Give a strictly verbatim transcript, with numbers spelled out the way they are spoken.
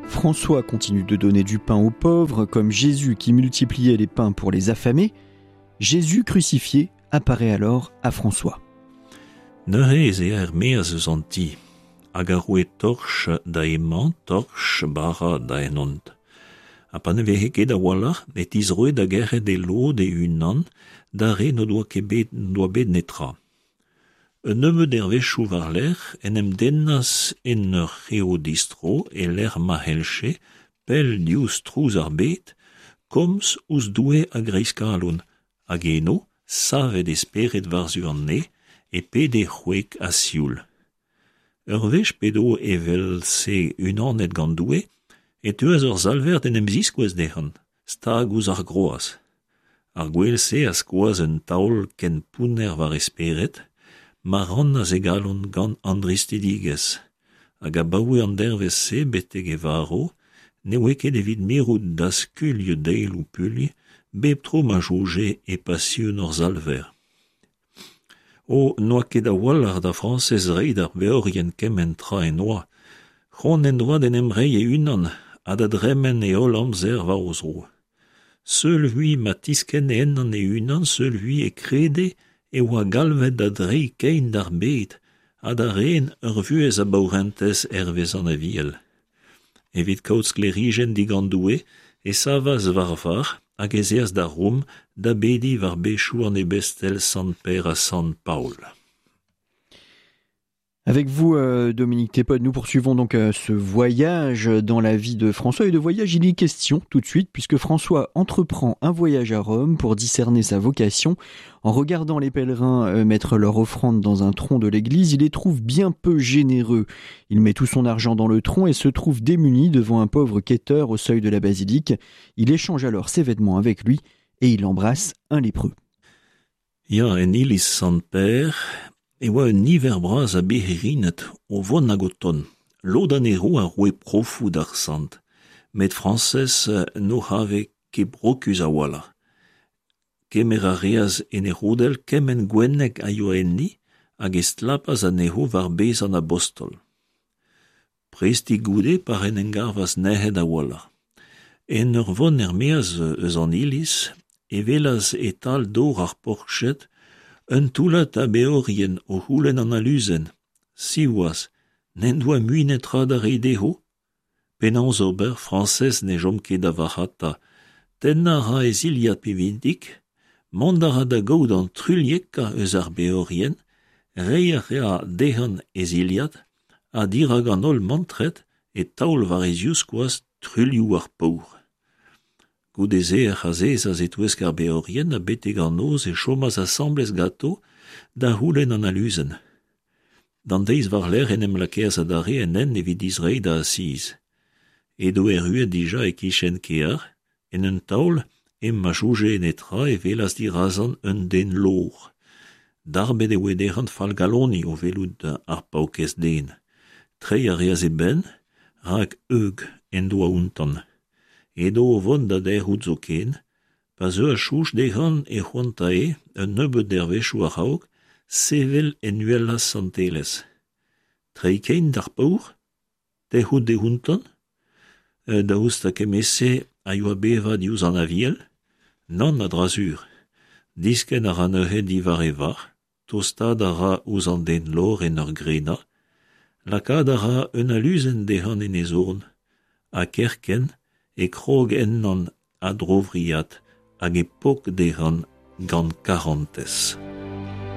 François continue de donner du pain aux pauvres, comme Jésus qui multipliait les pains pour les affamés. Jésus crucifié apparaît alors à François. Neuze ez ea er-maez eus an ti, hag a roe torch da emañ, torch bara da henhont. Ha pa ne veze ket a-walc'h, e tizroe da gerc'het e lod e-unan d'ar re n'o doa ket bet, n'o doa bet netra. Un nebeud dervezhioù war-lerc'h en em dennas en ur c'heo distro e lec'h ma c'hellje, pell diouzh trouz ar bed, komz ouzh Doue a-greiz kalon, hag eno, savet e spered war-zu an neñv, e pede c'hwek ha sioul. Ur wech p'edo evel-se unanet gant Doue, e teuas ur salver d'en em ziskouez dezhañ, stag ouzh ar groaz. Ar gwel-se a skoas un taol ken pounner war e spered, ma rannas e galon gant an dristidigezh, hag abaoe an dervezh-se betek e varv, ne oa ket evit mirout da skuilh daeloù puilh bep tro ma soñje e pasion hor Salver. O, n'oa ket a-walc'h da Frañsez reiñ d'ar beorien kement tra en doa, c'hoant en doa d'en em reiñ e-unan ha da dremen e holl amzer war o zro. Seul vui ma tiskenne ennañ e-unan, seul vui e krede e oa galvet da dreiñ kein d'ar bed ha da ren ur vuhez a baourentez hervez an Aviel. Evit kaout sklêrijenn digant Doue e savas war varc'h hag ez eas da Rom da bediñ war bezioù an ebestel Sant Pêr ha Sant Paol. Avec vous, euh, Dominique Tépod, nous poursuivons donc euh, ce voyage dans la vie de François. Et de voyage, il est question tout de suite, puisque François entreprend un voyage à Rome pour discerner sa vocation. En regardant les pèlerins euh, mettre leur offrande dans un tronc de l'église, il les trouve bien peu généreux. Il met tout son argent dans le tronc et se trouve démuni devant un pauvre quêteur au seuil de la basilique. Il échange alors ses vêtements avec lui et il embrasse un lépreux. Ya, en iliz Sant Pêr, e oa un niver bras a birc'hirined o vont hag o tont. Lod anezho a roe profoù d'ar sant, met Frañsez n'o c'have ket brokus a-walc'h. Kemer a reas en e c'hodell kement gwenneg a yoa enni hag e stlapas anezho war bez an abostol. Prestik goude pa en em gavas nec'het a-walc'h. En ur vont er-maez eus an iliz, e welas e-tal dor ar porched un toullad a beorien o c'houlenn an aluzenn. Siwazh, n'en doa mui netra da reiñ dezho. Penaos ober, Frañsez ne chom ket da varc'hata. Tennañ a ra e zilhad pinvidik, mont a ra da gaout an truilhekañ eus ar beorien, reiñ a ra dezhañ e zilhad, ha dirak an holl mantret e taol war e zivskoaz truilhoù ar paour. Goude-se ec'h azezas e-touesk ar beorien ha betek an noz e chomas asambles ganto da c'houlenn an aluzenn. D'an deiz war-lerc'h en em lakaas adarre en hent evit distreiñ da Asiz. Edo erruet dija e-kichen kêr, en un taol, hep ma soñje netra e welas dirazañ un den lovr. Darbet e oa dezhañ fallgaloniñ o welout ar paourkaezh den. Treiñ a reas e benn, rak heug en doa outañ. Edo o vont da derc'hout zoken, pa zeuas soñj dezhañ e c'hoantae, un nebeud dervezhioù a-raok, sevel en uhelañ santelezh. Treiñ kein d'ar paour, tec'hout dehontañ, daoust ha kement-se a yoa bevañ diouzh an Aviel? Nann a-dra-sur. Diskenn a ra neuze diwar e varc'h, tostaat a ra ouzh an den lovr en ur grenañ, lakaat a ra un aluzenn dezhañ en e zorn, ha kerkent e krog ennañ a-dro-vriad hag e pok dezhañ gant karantez.